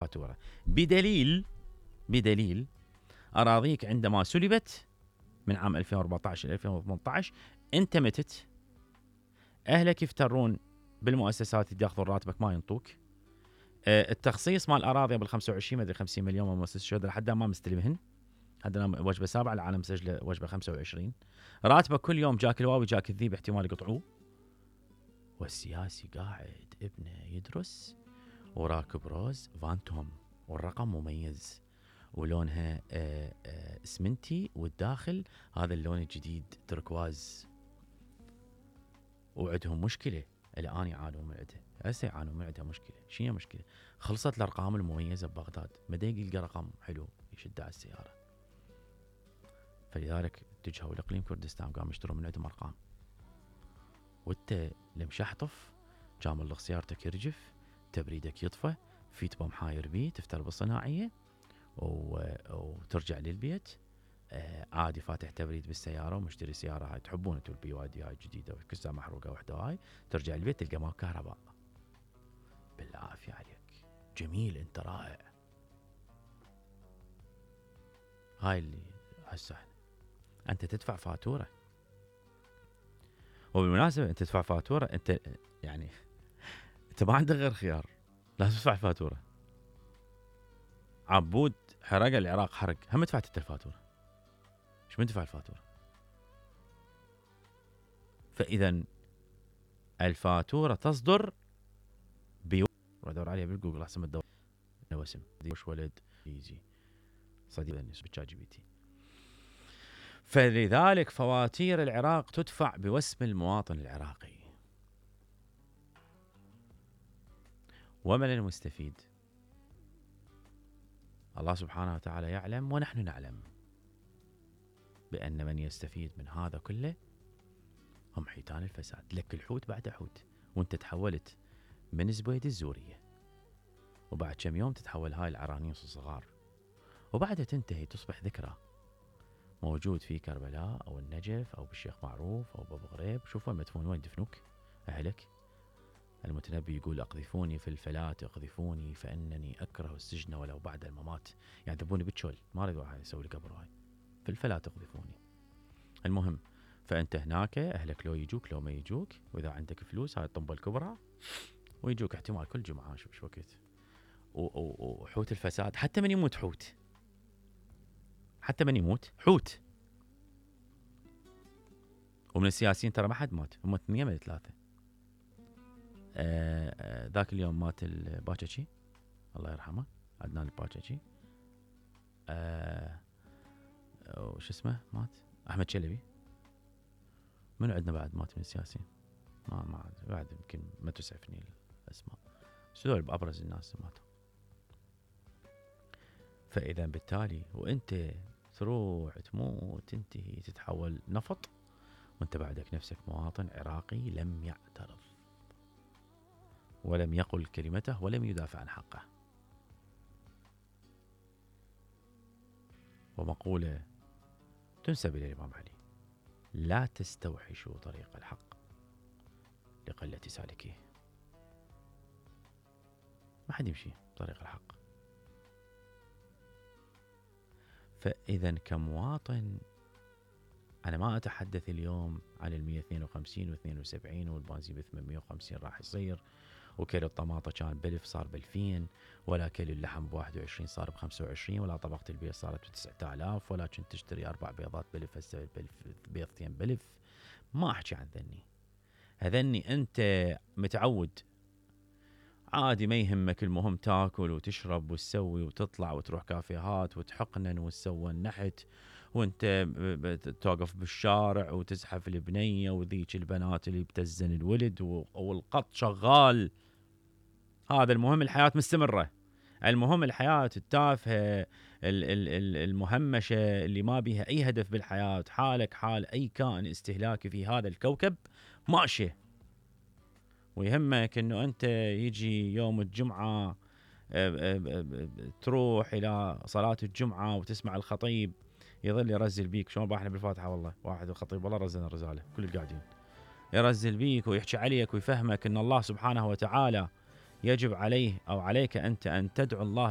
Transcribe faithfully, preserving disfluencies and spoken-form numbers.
فاتورة بدليل بدليل أراضيك عندما سلبت من عام ألفين وأربعطعش إلى ألفين وثمنطعش أنت متت، أهلك يفترون بالمؤسسات ياخذون راتبك ما ينطوك. أه التخصيص مال الأراضي قبل خمسة وعشرين مدري خمسين مليون من مؤسسة الشهداء لحد ما مستلمهن، هذا وجبة سابعة العالم مسجلة وجبة خمسة وعشرين. راتبك كل يوم جاك الواوي جاك الذيب احتمال يقطعوه، والسياسي قاعد ابنه يدرس وراكب روز فانتوم والرقم مميز ولونها آآ آآ اسمنتي والداخل هذا اللون الجديد تركواز، وعندهم مشكلة الآن يعانون من عندها، هسه يعانون من عندها مشكلة. شنو مشكلة؟ خلصت الأرقام المميزة ببغداد، ما يلقى رقم حلو يشد على السيارة، فلذلك اتجهوا لإقليم كردستان قاموا يشترون من عندهم أرقام. وانت لمشحطف كامل لك سيارتك يرجف، تبريدك يطفى، في تبى حاير بيه تفتر بالصناعية وترجع للبيت آه عادي فاتح تبريد بالسيارة ومشتري سيارة هاي تحبون انتوا البي واي دي هاي جديدة وكسها محروقة وحدة هاي، ترجع البيت تلقى ما كهرباء. بالعافية عليك، جميل انت رائع. هاي اللي هسه انت تدفع فاتورة، وبالمناسبة انت تدفع فاتورة، انت يعني انت ما عندك غير خيار، لازم تدفع الفاتورة. عبود حرق العراق حرق، هم دفعت انت الفاتورة، مش من دفع الفاتورة. فإذا الفاتورة تصدر بيو ودور عليها بالجوجل احسن ما تدور واسم وش ولد يجي صديق الناس بتشات جي بي تي. فلذلك فواتير العراق تدفع بوسم المواطن العراقي. ومن المستفيد؟ الله سبحانه وتعالى يعلم ونحن نعلم بأن من يستفيد من هذا كله هم حيتان الفساد. لك الحوت بعد حوت، وانت تحولت من زبيد الزورية، وبعد كم يوم تتحول هاي العرانيس الصغار، وبعدها تنتهي تصبح ذكرى موجود في كربلاء أو النجف أو بالشيخ معروف أو بابو غريب. شوفوا المدفون وين دفنوك أهلك. المتنبي يقول أقذفوني في الفلاة أقذفوني فإنني أكره السجن ولو بعد الممات. يعني ذبوني بالشول، ما أريد واحد يسوي لي قبر هاي في الفلاة أقذفوني. المهم فأنت هناك أهلك لو يجوك لو ما يجوك، وإذا عندك فلوس هاي الطنبة الكبرى ويجوك احتمال كل جمعة شو وقت. وحوت الفساد حتى من يموت حوت، حتى من يموت حوت. ومن السياسيين ترى ما حد مات، هم اثنين من ثلاثة. آه آه ذاك اليوم مات الباكشي الله يرحمه عدنان الباكشي. آه وش اسمه مات أحمد شلبي. من عندنا بعد مات من السياسيين؟ ما ما بعد يمكن ما تسعفني الأسماء، بس هذول بأبرز الناس ماتوا. فإذا بالتالي وأنت تروح تموت تنتهي تتحول نفط، وأنت بعدك نفسك مواطن عراقي لم يعترض ولم يقل كلمته ولم يدافع عن حقه. ومقولة تنسب إلى الإمام علي: لا تستوحشوا طريق الحق لقلة سالكيه. ما حد يمشي طريق الحق. فإذا كمواطن أنا ما أتحدث اليوم عن المية اثنين وخمسين واثنين وسبعين والبنزين بثمانمية وخمسين راح يصير، وكيلو الطماطة كان بألف صار بألفين، ولا كيلو اللحم بواحد وعشرين صار بخمسة وعشرين، ولا طبقة البيض صارت بتسعة آلاف، ولا كنت تشتري أربع بيضات بألف هسه بيضتين بألف. ما أحكي عن ذني، هذني أنت متعود عادي ما يهمك، المهم تاكل وتشرب وتسوي وتطلع وتروح كافيهات وتحقنن وتسوي النحت، وانت توقف بالشارع وتزحف البنية وذيك البنات اللي بتزن الولد والقط شغال. هذا المهم، الحياة مستمرة. المهم الحياة التافهة المهمشة اللي ما بيها أي هدف بالحياة، حالك حال أي كائن استهلاكي في هذا الكوكب ماشي. ويهمك أنه أنت يجي يوم الجمعة تروح إلى صلاة الجمعة وتسمع الخطيب يظل يرزل بيك. شلون باحنا بالفاتحة والله واحد الخطيب والله رزلنا الرزالة كل القاعدين يرزل بيك ويحكي عليك ويفهمك أن الله سبحانه وتعالى يجب عليه أو عليك أنت أن تدعو الله